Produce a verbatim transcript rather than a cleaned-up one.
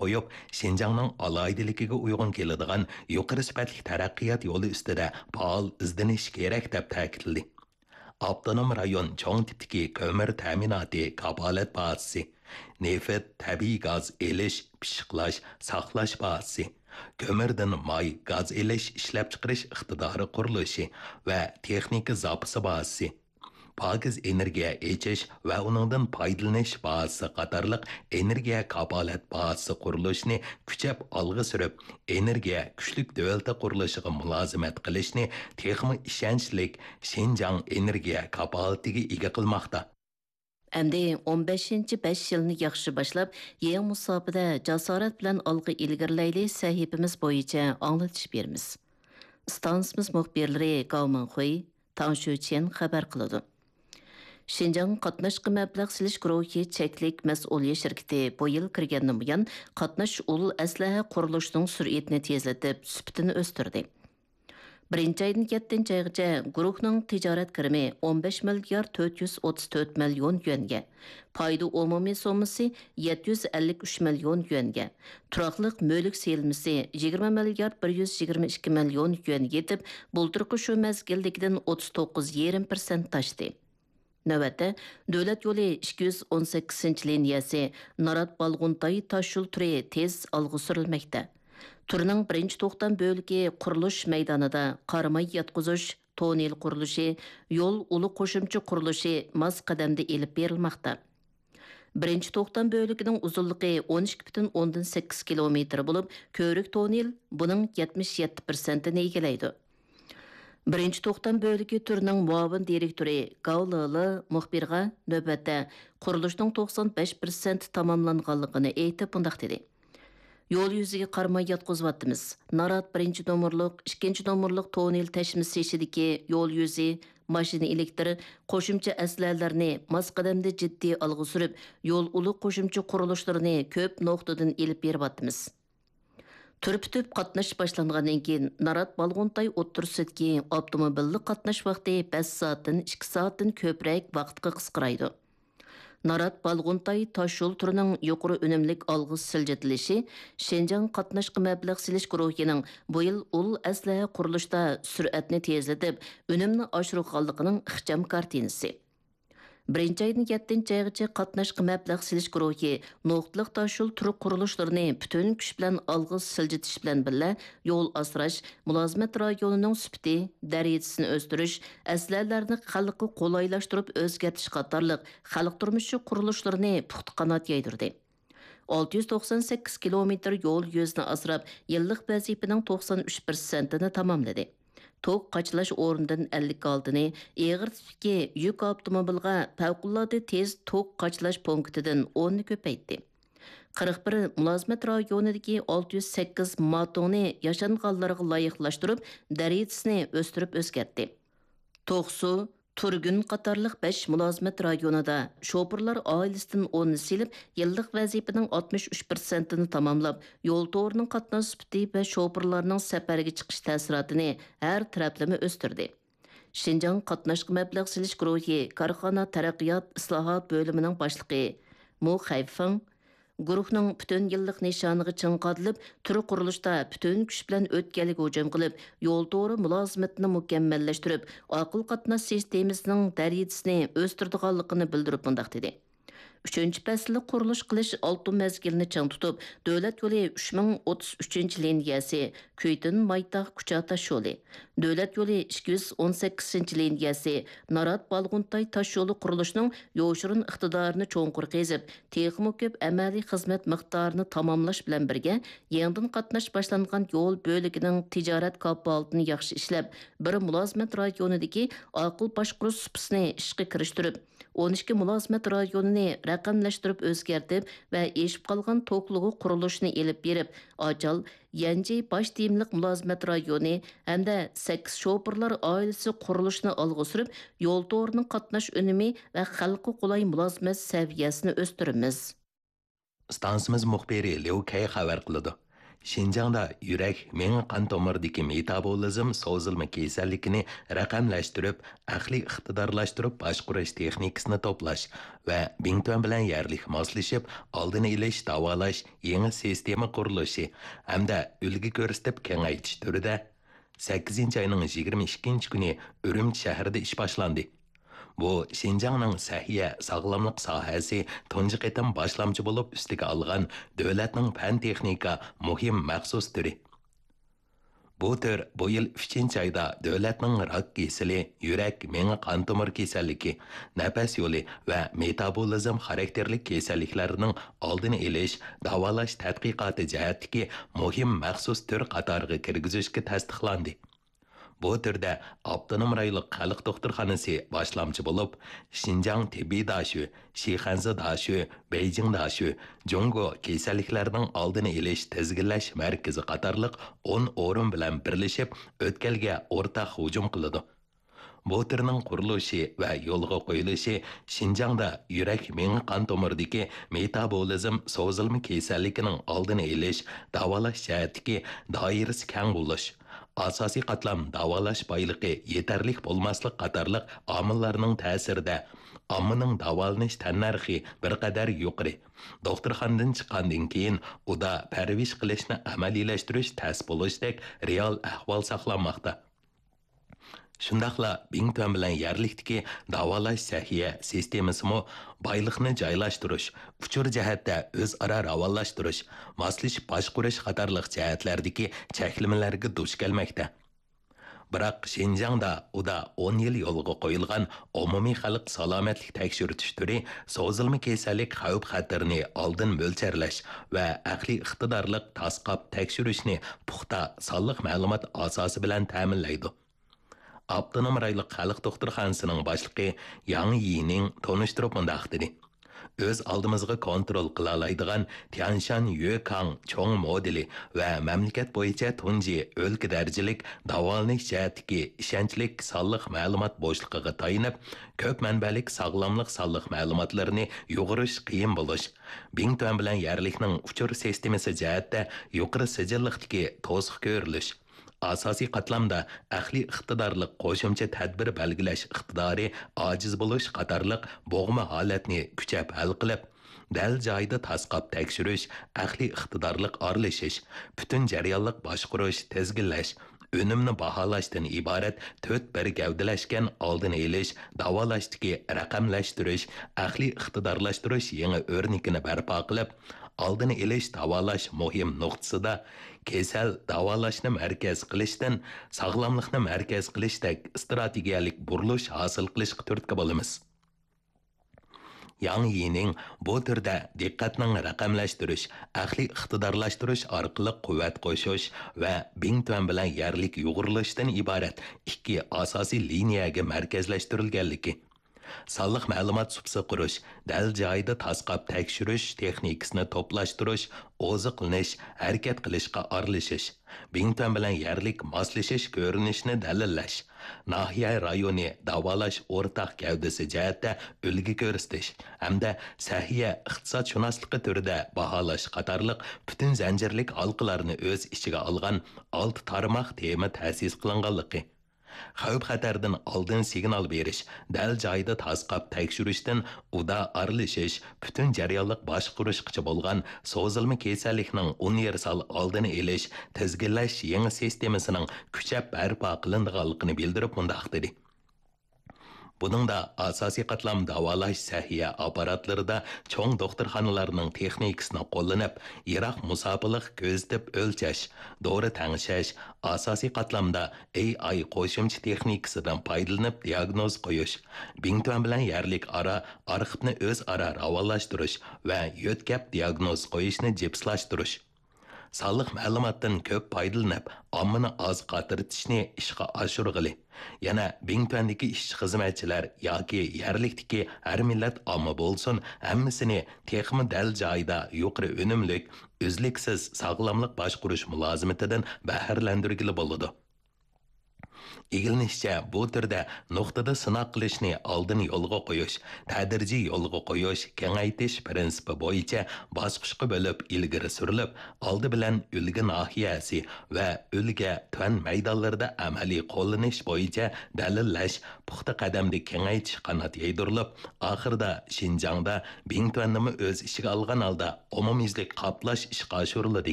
قويۇپ، شىنجاڭنىڭ ئالاھىدىلىكىگە ئۇيغۇن كېلىدىغان يۇقىرى سۈپەتلىك تەرەققىيات يولى ئۈستىدە پائال ئىزدىنىش كېرەك، دەپ تەكىتلىدى. ئاپتونوم رايون چوڭ تىپتىكى كۆمۈر تەمىناتى كاپالەت بازىسى، نېفىت، تەبىئىي گاز ئېلىش، پىششىقلاش، ساقلاش بازىسى، كۆمۈردىن ماي، گاز ئېلىش، ئىشلەپچىقىرىش ئىقتىدارى قۇرۇلۇشى ۋە تېخنىكا زاپىسى بازىسى، پاكىز ئېنېرگىيە ئېچىش ۋە ئۇنىڭدىن پايدىلىنىش بازىسى قاتارلىق ئېنېرگىيە كاپالەت بازىسى قۇرۇلۇشىنى كۈچەپ ئالغا سۈرۈپ، ئېنېرگىيە كۈچلۈك دۆلىتى قۇرۇلۇشىغا مۇلازىمەت قىلىشنى تېخىمۇ ئىشەنچلىك شىنجاڭ ئېنېرگىيە كاپالىتىگە ئىگە قىلماقتا. ئەمدى ئون بەشىنچى بەش يىلنى ياخشى باشلاپ، يېڭى مۇساپىدە جاسارەت بىلەن ئالغا ئىلگىرىلەيلى سەھىپىمىز بويىچە ئاڭلىتىش بېرىمىز. ئىستانسىمىز مۇخبىرلىرى گاۋ مىڭخۇي، تاڭ شۈچيەن خەۋەر قىلىدۇ. شىنجاڭ قاتناشقا مەبلەغ سېلىش گۇرۇھى چەكلىك مەسئۇلىيەت شىركىتى بۇ يىل كىرگەندىن بۇيان، قاتناش ئۇل ئەسلىھە قۇرۇلۇشىنىڭ سۈرئىتىنى تېزلىتىپ، سۈپىتىنى ئۆستۈردى. بىرىنچى ئايدىن يەتتىنچى ئايغىچە گۇرۇھنىڭ تىجارەت كىرىمى ئون بەش مىليارد تۆت يۈز ئوتتۇز تۆت مىليون يۈەنگە، پايدا ئومۇمىي سوممىسى يەتتە يۈز ئەللىك ئۈچ مىليون يۈەنگە، تۇراقلىق مۈلۈك سېلىنمىسى يىگىرمە مىليارد بىر يۈز يىگىرمە ئىككى مىليون يۈەنگە يېتىپ، بۇلتۇرقى شۇ مەزگىلدىكىدىن ئوتتۇز توققۇز يېرىم پىرسەنت ئاشتى. نۆۋەتتە، دۆلەت يولى ئىككى يۈز ئون سەككىزىنچى لىنىيەسى نارات بالغۇنتاي تاش يول تۈرى تېز ئالغا سۈرۈلمەكتە. تۈرنىڭ بىرىنچى توختام بۆلىكى قۇرۇلۇش مەيدانىدا قاراماي ياتقۇزۇش، توننېل قۇرۇلۇشى، يول ئۇلى قوشۇمچە قۇرۇلۇشى ماس قەدەمدە ئېلىپ بېرىلماقتا. بىرىنچى توختام بۆلىكىنىڭ ئۇزۇنلۇقى ئون ئىككى پۈتۈن ئوندىن سەككىز كىلومېتىر بولۇپ، كۆۋرۈك توننېل بۇنىڭ يەتمىش يەتتە پىرسەنتىنى ئىگىلەيدۇ. بىرىنچى توختام بۆلىكى تۈرىنىڭ مۇئاۋىن دىرېكتورى گاۋ لېلې مۇخبىرغا نۆۋەتتە قۇرۇلۇشنىڭ توقسان بەش پىرسەنت تاماملانغانلىقىنى ئېيتىپ، مۇنداق دېدى: يول يۈزىگە قاراماي ياتقۇزۇۋاتىمىز. نارات بىرىنچى نومۇرلۇق، ئىككىنچى نومۇرلۇق توننېل تەشمىسى ئىچىدىكى يول يۈزى، ماشىنا ئېلېكتىر، قوشۇمچە ئەسلىھەلەرنى ماس قەدەمدە جىددىي ئالغا سۈرۈپ، يول ئۇلى قوشۇمچە قۇرۇلۇشلىرىنى كۆپ نۇقتىدىن ئېلىپ بېرىۋاتىمىز. تۈر پۈتۈپ قاتناش باشلانغاندىن كېيىن، نارات بالغۇنتاي ئوتتۇرىسىدىكى ئاپتوموبىللىق قاتناش ۋاقتى بەش سائەتتىن ئىككى سائەتتىن كۆپرەك ۋاقىتقا قىسقىرايدۇ. نارات بالغۇنتاي تاشيول تۈرىنىڭ يۇقىرى ئۈنۈملۈك ئالغا سىلجىتىلىشى شىنجاڭ قاتناشقا مەبلەغ سېلىش گۇرۇھىنىڭ بۇ يىل ئۇل ئەسلىھە قۇرۇلۇشتا سۈرئەتنى تېزلىتىپ، ئۈنۈمنى ئاشۇرغانلىقىنىڭ ئىخچام كارتىنىسى. بىرىنچى ئايدىن يەتتىنچى ئايغىچە قاتناشقا مەبلەغ سېلىش گۇرۇھى نۇقتىلىق تاشيول تۈر قۇرۇلۇشلىرىنى پۈتۈن كۈچ بىلەن ئالغا سىلجىتىش بىلەن بىللە، يول ئاسراش، مۇلازىمەت رايونىنىڭ سۈپىتى، دەرىجىسىنى ئۆستۈرۈش، ئەسلىھەلەرنى خەلققە قولايلاشتۇرۇپ ئۆزگەرتىش قاتارلىق خەلق تۇرمۇشى قۇرۇلۇشلىرىنى پۇختا قانات يايدۇردى. ئالتە يۈز توقسان سەككىز كىلومېتىر يول يۈزىنى ئاسراپ، يىللىق ۋەزىپىنىڭ توقسان ئۈچ پىرسەنتىنى تاماملىدى. توك قاچىلاش ئورنىدىن ئەللىك ئالتىنى، ئېغىر تىپتىكى يۈك ئاپتوموبىلغا پەۋقۇلئاددە تېز توك قاچىلاش پونكىتىدىن ئوننى كۆپەيتتى. قىرىق بىر مۇلازىمەت رايونىدىكى ئالتە يۈز سەككىز ماتوڭنى ياشانغانلارغا لايىقلاشتۇرۇپ، دەرىجىسىنى ئۆستۈرۈپ ئۆزگەرتتى. توقسۇ، تۇرگۈن قاتارلىق بەش مۇلازىمەت رايونىدا شوپۇرلار ئائىلىسىدىن ئوننى سېلىپ، يىللىق ۋەزىپىنىڭ ئاتمىش ئۈچ پىرسەنتىنى تاماملاپ، يول تورىنىڭ قاتناش سۈپىتى ۋە شوپۇرلارنىڭ سەپەرگە چىقىش تەسىراتىنى ھەر تەرەپلىمە ئۆستۈردى. شىنجاڭ قاتناشقا مەبلەغ سېلىش گۇرۇھى كارخانا تەرەققىيات ئىسلاھات بۆلۈمىنىڭ باشلىقى مۇ خەيفېڭ، گۇرۇھنىڭ پۈتۈن يىللىق نىشانىغا چىڭ قادىلىپ، تۈر قۇرۇلۇشتا پۈتۈن كۈچ بىلەن ئۆتكەلگە ھۇجۇم قىلىپ، يول تورى مۇلازىمىتىنى مۇكەممەللەشتۈرۈپ، ئاقىل قاتناش سىستېمىسىنىڭ دەرىجىسىنى ئۆستۈرىدىغانلىقىنى بىلدۈرۈپ مۇنداق دېدى: ئۈچىنچى پەسىللىك قۇرۇلۇش قىلىش ئالتۇن مەزگىلىنى چىڭ تۇتۇپ، دۆلەت يولى ئۈچ مىڭ ئوتتۇز ئۈچىنچى لىنىيەسى، كۈيتۈن مايتاغ كۇچا تاشيولى، دۆلەت يولى ئىككى يۈز ئون سەككىزىنچى لىنىيەسى، نارات بالغۇنتاي تاشيولى قۇرۇلۇشىنىڭ يوشۇرۇن ئىقتىدارىنى چوڭقۇر قېزىپ، تېخىمۇ كۆپ ئەمەلىي خىزمەت مىقدارىنى تاماملاش بىلەن بىرگە، يېڭىدىن قاتناش باشلانغان يول بۆلىكىنىڭ تىجارەت كاپالىتىنى ياخشى ئىشلەپ، بىر مۇلازىمەت رايونىدىكى ئاقىل باشقۇرۇش سۇپىسىنى ئىشقا كىرىشتۈرۈپ، ئون ئىككى مۇلازىمەت رايونىنى رەقەملەشتۈرۈپ ئۆزگەرتىپ ۋە ئېشىپ قالغان توكلىغۇ قۇرۇلۇشىنى ئېلىپ بېرىپ، ئاچال يەنجى باش تېمىلىق مۇلازىمەت رايونى ھەمدە سەككىز شوپۇرلار ئائىلىسى قۇرۇلۇشىنى ئالغا سۈرۈپ، يول تورىنىڭ قاتناش ئۈنۈمى ۋە خەلققە قولاي مۇلازىمەت سەۋىيەسىنى ئۆستۈرىمىز. ئىستانسىمىز مۇخبىرى ليۇ كەي خەۋەر قىلىدۇ. شىنجاڭدا يۈرەك، مېڭە قان تومۇرىدىكى مېتابولىزم سوزۇلما كېسەللىكىنى رەقەملەشتۈرۈپ، ئەقلىي ئىقتىدارلاشتۇرۇپ باشقۇرۇش تېخنىكىسىنى توپلاش ۋە بىڭتۈەن بىلەن يەرلىك ماسلىشىپ ئالدىنى ئېلىش، داۋالاش يېڭى سىستېما قۇرۇلۇشى ھەمدە ئۈلگە كۆرسىتىپ كېڭەيتىش تۈرىدە سەككىزىنچى ئاينىڭ يىگىرمە ئىككىنچى كۈنى ئۈرۈمچى شەھىرىدە ئىش باشلاندى. بۇ شىنجاڭنىڭ سەھىيە، ساغلاملىق ساھەسى تۇنجى قېتىم باشلامچى بولۇپ ئۈستىگە ئالغان دۆلەتنىڭ پەن-تېخنىكا مۇھىم مەخسۇس تۈرى. بۇ تۈر بۇ يىل ئۈچىنچى ئايدا دۆلەتنىڭ راك كېسىلى، يۈرەك، مېڭە قان تومۇر كېسەللىكى، نەپەس يولى ۋە مېتابولىزم خاراكتېرلىك كېسەللىكلەرنىڭ ئالدىنى ئېلىش، داۋالاش تەتقىقاتى جەھەتتىكى مۇھىم مەخسۇس تۈر قاتارىغا كىرگۈزۈشكە تەستىقلاندى. بۇ تۈردە ئاپتونوم رايونلۇق خەلق دوختۇرخانىسى باشلامچى بولۇپ، شىنجاڭ تېببىي داشۆ، شىخەنزە داشۆ، بېيجىڭ داشۆ، جۇڭگو كېسەللىكلەرنىڭ ئالدىنى ئېلىش، تىزگىنلەش مەركىزى قاتارلىق ئون ئورۇن بىلەن بىرلىشىپ، ئۆتكەلگە ئورتاق ھۇجۇم قىلىدۇ. بۇ تۈرنىڭ قۇرۇلۇشى ۋە يولغا قويۇلۇشى شىنجاڭدا يۈرەك، مېڭە قان تومۇرىدىكى مېتابولىزم سوزۇلما كېسەللىكىنىڭ ئالدىنى ئېلىش، داۋالاش جەھەتتىكى دائىرىسى كەڭ بولۇش، ئاساسىي قاتلام داۋالاش بايلىقى يېتەرلىك بولماسلىق قاتارلىق ئامىللارنىڭ تەسىرىدە ئاممىنىڭ داۋالىنىش تەننەرخى بىر قەدەر يۇقىرى. دوختۇرخانىدىن چىققاندىن كېيىن ئۇدا پەرۋىش قىلىشنى ئەمەلىيلەشتۈرۈش تەس بولۇشتەك رېئال ئەھۋال ساقلانماقتا. شۇنداقلا بىڭتۈەن بىلەن يەرلىكتىكى داۋالاش سەھىيە سىستېمىسىمۇ بايلىقنى جايلاشتۇرۇش، ئۇچۇر جەھەتتە ئۆزئارا راۋانلاشتۇرۇش، ماسلىشىپ باشقۇرۇش قاتارلىق جەھەتلەردىكى چەكلىمىلەرگە دۇچ كەلمەكتە. بىراق شىنجاڭدا ئۇدا ئون يىل يولغا قويۇلغان ئومۇمىي خەلق سالامەتلىك تەكشۈرتۈش تۈرى سوزۇلما كېسەللىك خەۋپ خەتىرىنى ئالدىن مۆلچەرلەش ۋە ئەقلىي ئىقتىدارلىق تاسقاپ تەكشۈرۈشنى پۇختا سانلىق مەلۇمات ئاساسى بىلەن تەمىنلەيدۇ. ئاپتونوم رايونلۇق خەلق دوختۇرخانىسىنىڭ باشلىقى ياڭ يىنىڭ تونۇشتۇرۇپ مۇنداق دېدى: ئۆز ئالدىمىزغا كونترول قىلالايدىغان تيەنشان يۆكاڭ چوڭ مودېلى ۋە مەملىكەت بويىچە تۇنجى ئۆلكە دەرىجىلىك داۋالىنىش جەھەتتىكى ئىشەنچلىك سانلىق مەلۇمات بوشلۇقىغا تايىنىپ، كۆپ مەنبەلىك ساغلاملىق سانلىق مەلۇماتلىرىنى يۇغۇرۇش قىيىن بولۇش، بىڭتۈەن بىلەن يەرلىكنىڭ ئۇچۇر سىستېمىسى جەھەتتە يۇقىرى سىجىللىقتىكى توسۇق كۆرۈلۈش، ئاساسىي قاتلامدا ئەقلىي ئىقتىدارلىق قوشۇمچە تەدبىر بەلگىلەش ئىقتىدارى ئاجىز بولۇش قاتارلىق بوغما ھالەتنى كۈچەپ ھەل قىلىپ، دەل جايىدا تاسقاپ تەكشۈرۈش، ئەقلىي ئىقتىدارلىق ئارىلىشىش، پۈتۈن جەريانلىق باشقۇرۇش، تىزگىنلەش، ئۈنۈمنى باھالاشتىن ئىبارەت تۆت بىر گەۋدىلەشكەن ئالدىنى ئېلىش، داۋالاشتىكى رەقەملەشتۈرۈش، ئەقلىي ئىقتىدارلاشتۇرۇش يېڭى ئۆرنىكىنى بەرپا قىلىپ، ئالدىنى ئېلىش، داۋالاش مۇھىم نۇقتىسىدا كېسەل داۋالاشنى مەركەز قىلىشتىن ساغلاملىقنى مەركەز قىلىشتەك ئىستراتېگىيەلىك بۇرۇلۇش ھاسىل قىلىشقا تۈرتكە بولىمىز. ياڭ يىنىڭ بۇ تۈردە دىققەتنىڭ رەقەملەشتۈرۈش، ئەقلىي ئىقتىدارلاشتۇرۇش ئارقىلىق قۇۋۋەت قوشۇش ۋە بىڭتۈەن بىلەن يەرلىك يۇغۇرۇلۇشتىن ئىبارەت ئىككى ئاساسىي لىنىيەگە مەركەزلەشتۈرۈلگەنلىكى، سانلىق مەلۇمات سۇپىسى قۇرۇش، دەل جايىدا تاسقاپ تەكشۈرۈش تېخنىكىسىنى توپلاشتۇرۇش، ئوزۇقلىنىش، ھەرىكەت قىلىشقا ئارىلىشىش، بىڭتۈەن بىلەن يەرلىك ماسلىشىش كۆرۈنۈشىنى دەلىللەش، ناھىيە رايونى داۋالاش ئورتاق گەۋدىسى جەھەتتە ئۈلگە كۆرسىتىش ھەمدە سەھىيە ئىقتىسادشۇناسلىقى تۈرىدە باھالاش قاتارلىق پۈتۈن زەنجىرلىك ھالقىلارنى ئۆز ئىچىگە ئالغان ئالتە تارماق تېما تەسىس قىلىنغانلىقى، خەۋپ-خەتەردىن ئالدىن سىگنال بېرىش، دەل جايىدا تاسقاپ تەكشۈرۈشتىن ئۇدا ئارىلىشىش، پۈتۈن جەريانلىق باشقۇرۇشقىچە بولغان سوزۇلما كېسەللىكنىڭ ئۇنىۋېرسال ئالدىنى ئېلىش، تىزگىنلەش يېڭى سىستېمىسىنىڭ كۈچەپ بەرپا قىلىنىدىغانلىقىنى بىلدۈرۈپ مۇنداق دېدى: بۇنىڭدا ئاساسىي قاتلام داۋالاش سەھىيە ئاپپاراتلىرىدا چوڭ دوختۇرخانىلارنىڭ تېخنىكىسىنى قوللىنىپ، يىراق مۇساپىلىق كۆزىتىپ ئۆلچەش، دورا تەڭشەش، ئاساسىي قاتلامدا ئېي ئاي قوشۇمچە تېخنىكىسىدىن پايدىلىنىپ دىياگنوز قويۇش، بىڭتۈەن بىلەن يەرلىك ئارا ئارخىپنى ئۆزئارا راۋانلاشتۇرۇش ۋە يۆتكەپ دىياگنوز قويۇشنى جىپسلاشتۇرۇش، سانلىق مەلۇماتتىن كۆپ پايدىلىنىپ، ئاممىنى ئاز قاترىتىشنى ئىشقا ئاشۇرغىلى. يەنە بىڭتۈەندىكى ئىشچى-خىزمەتچىلەر ياكى يەرلىكتىكى ھەر مىللەت ئامما بولسۇن، ھەممىسىنى تېخىمۇ دەل جايىدا يۇقىرى ئۈنۈملۈك، ئۈزلۈكسىز ساغلاملىق باشقۇرۇش مۇلازىمىتىدىن بەھرىلەندۈرگىلى بولىدۇ. ئىگىلىنىشىچە، بۇ تۈردە نۇقتىدا سىناق قىلىشنى ئالدىن يولغا قويۇش، تەدرىجىي يولغا قويۇش، كېڭەيتىش پىرىنسىپى بويىچە باسقۇچقا بۆلۈپ ئىلگىرى سۈرۈلۈپ، ئالدى بىلەن ئۈلگە ناھىيەسى ۋە ئۈلگە تۈەن مەيدانلىرىدا ئەمەلىي قوللىنىش بويىچە دەلىللەش، پۇختا قەدەمدە كېڭەيتىش قانات يايدۇرۇلۇپ، ئاخىرىدا شىنجاڭدا بىڭتۈەننىمۇ ئۆز ئىچىگە ئالغان ھالدا ئومۇميۈزلۈك قاپلاش ئىشقا ئاشۇرۇلىدىكەن.